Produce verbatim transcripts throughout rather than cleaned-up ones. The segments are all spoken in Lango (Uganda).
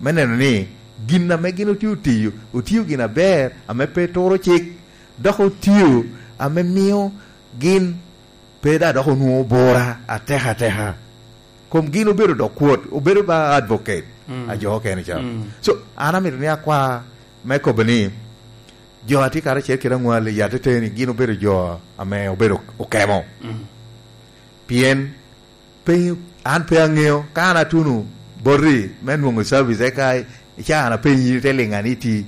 me neno ni gin ame gin otye otiyo, otio gin aber ame pe turo cik, dok otio ame mio gin pe daŋ dok onwoŋo bura atek ateka. Kom gin obedo dok kwot, obedo ba advocate Mm. a jo okene ca. Mm. So, an amito ni akwa me kobo ni, jo a tye karacel kede aŋwal i atete ni gin obedo jo ame obedo okemo. Mm. Pien pe, an pe aŋeo, ka an atuno boti me nwoŋo service, eka ica an apenyi, ite liŋa ni iti,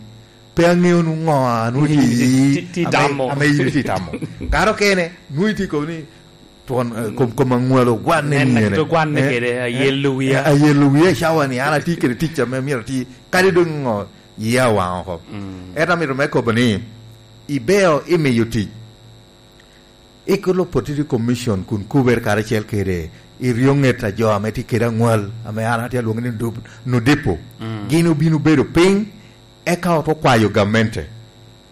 pe aŋeo nu ŋo a nu iti Ti, ti, ti ame, tamo. Ame in iti tamo. Kare okene, nu iti kobo ni, twon, eh, kom, kom aŋwalo gwanne Nen ni ene. Akito gwanne Eh, kede, eh, ayelo wiya. Eh, ayelo wiya i cawa ni, an atye kede tic ame myero ati, kadi doŋ ŋo, yia owaŋ oko. Mm. Ento amito me kobo ni, ibeo imiyo tic. Equal Opportunity Commission kun kubere karacel kede i ryo ŋet a jo ame tye kede aŋwal, ame an atye alwoŋo ni Ndu-, Nudipo. Mm. Gin obino bedo piny, eka oto kwayo gamente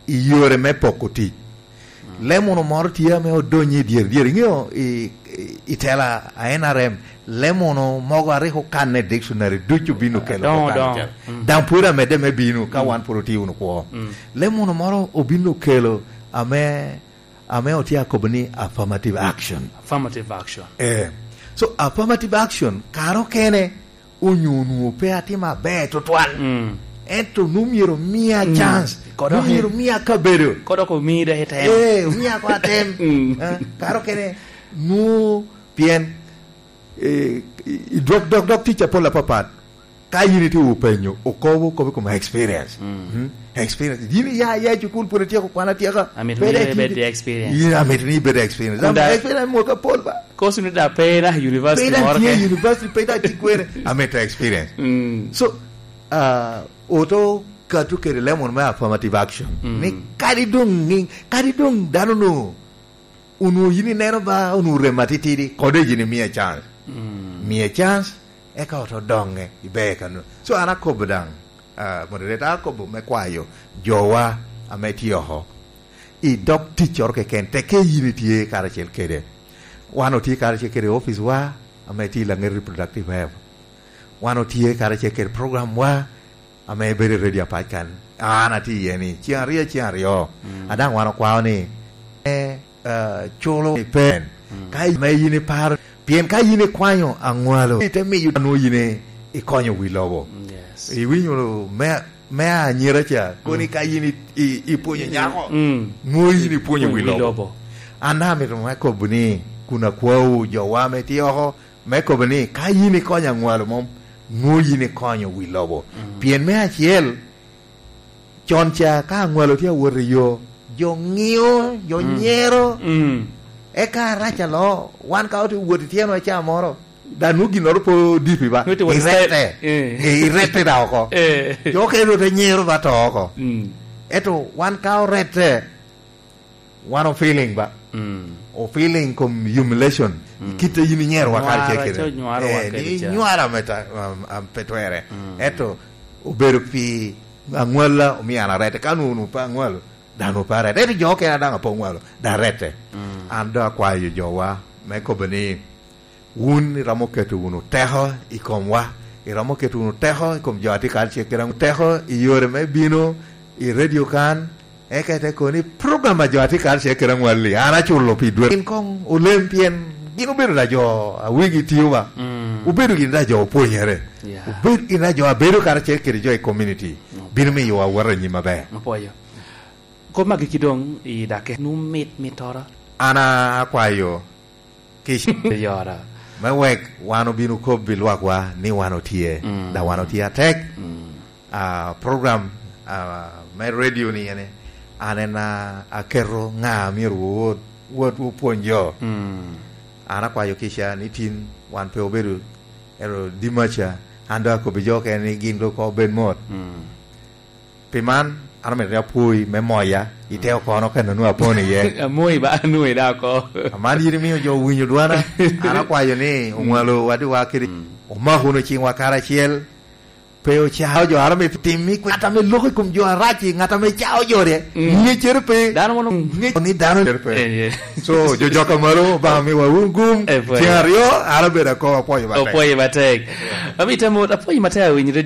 i yore me poko tic. Mm. Lemono moro tye ame odonyo i dyere dyere. Iŋeo i, i, i tela a N R M, lemono mogo a rik okanne i dictionary ducu obino kelo Doŋo, okan doŋo. Cal. Mm. Daŋ pwod amedde me bino ka Mm. wan pwod otye wunu kwo. Mm. Lemono moro obino kelo ame, ame otye akobo ni affirmative action. Affirmative action. Eh. So, affirmative action, kare okene, onyo onwoŋo pe atimo aber tutwal. Mm. Ento nu myero omia Mm. chance. Kodo Nu myero omia kabedo. Kodo ko mi dok item. Eh, omia ko atem. Mm. Eh, kare okene, nu pien, eh, i, i dwok, dok, dok tic apol apapat. Ka yin itye openyo, okobo, okobo i kom experience. Mm. Mm. Experience. Yin iya, iya i cukul, pwod ityeko kwan atyeka. Amito Pwod ni itye ibed ki experience. Yin amito ni ibed experience. Kunda Am-, experience mwaka apol ba. Kosi ni da pe na university Pe da moro tye ke. University, pe da tye kwene. Amito experience. Mm. So, ah, oto kato kede lemon me affirmative action. Mm. Ni kadi doŋ ŋiŋ, kadi doŋ dano no onwoŋo yin ineno ba, onwoŋo rem atitidi, kode yin imiye chance. Mm. Miye chance, eka oto doŋe, iber kano. So, an akobo daŋ, ah, moderator, akobo me kwayo jowa ame tye oko. I dog ticcoro keken, tekke yin itye karacel kede. Wan otye karacel kede office wa, ame tye i Langet Reproductive Health. Wan otye karacel kede program wa, ame bedo i radio apac kan, an atye iye ni, ceŋ aryo, ceŋ aryo. Mm. A daŋ wan okwao ni, eh, eh, culo i pen. Mm. Ka ame yin iparo, pien ka yin ikwanyo aŋwalo, ite miyo nwo yin i-, ikonyo wi lobo. Mm, yes. Iwinyo me, me anyira ca, koni Mm. ka yin i-, i-, ipwonyo nyako, Mm. nwo yin ipwonyo wi Wi lobo. lobo. An daŋ amito me kobo ni, kun akwawu jowa ame tye oko, me kobo ni, ka yin ikonyo aŋwalo mom, nwo yin ikonyo wi lobo. Mm. Pien me acel, con ca ka aŋwalo tye awot i yo, jo ŋio, jo Mm. nyero. Mm. Eka arac alo, wan ka otye wot i tyeno aca moro, da nwo ginnoro pe odipi ba. Nwo tye wot i style. Irette. Eh. Eh, irette da oko. Eh. Jo okene nwo te nyero ba to oko. Mm. Ento wan ka orette, wan o feeling ba. Mm. O feeling kom humiliation. Mm. Kit a yin inyero wa Nywara, kare cekere. Co nywara wa Eh, kede ni ca. Nywara me ta-, um, um, pe twere. Mm. Eto, obedo pi aŋwala, omio an arete. Ka nu, nu pe aŋwalo, dano pe arete. Eto jo okene daŋ ape oŋwalo, daŋ arete. Mm. An do akwayo jowa me kobo ni, Wun iromo keto wunu teko i komwa, iromo keto wunu teko i kom jo a tye karacel kede aŋwal, teko i yore me bino i redio kan, eka ite kono ni program a jo a tye karacel kede aŋwal-li, an aculo pi dwe. Gin koŋ olem pien gin obedo da jo a wigi tio ba. Mm. Obedo gin da jo opwonyere. Yeah. Obedo gin da jo a bedo karacel kede jo i community. Mm. Bino miyo wa wot anyim aber. Apwoyo. Kop magi ki doŋ i dake. Nu mit, mittoro. An akwayo Kic. Yora. Me wek wan obin okob i lwakwa ni wan otye, mm, da wan otye atek. Mm. Ah, program, ah, me radio ni ene, an en, ah, aketo ŋa myero wowot, wot wopwony jo. Mm. An akwayo kica ni tin wan pe obedo ero dimaca, an dok akobbi jo okene ni gin dok obed mot. Mm. Pi man, an omito ni apwoyi me moya, i te okono kan onwoŋo apon iye. Amoyi ba, anwoŋi da oko. Aman yin imiyo jo owinyo dwana, an akwayo ni, mm, oŋwalo wadiwa kede, mm, omak wunu ciŋwa karacel, pe ocao jo, an omito tim i kwe-, ŋat ame loko i kom jo arac-ci, ŋat ame cao jo rye, mm, ŋeccere pe. Dano mono ŋec ni dano ŋeccere pe. Eh, eh. So, jo jok a malo, Obaŋa miwa wun gum, eh, pwoyo. Ciŋ aryo, an abedo akobo, apwoyo matek. Opwoyo matek. Yeah. Amito amot, apwoyo matek awinyo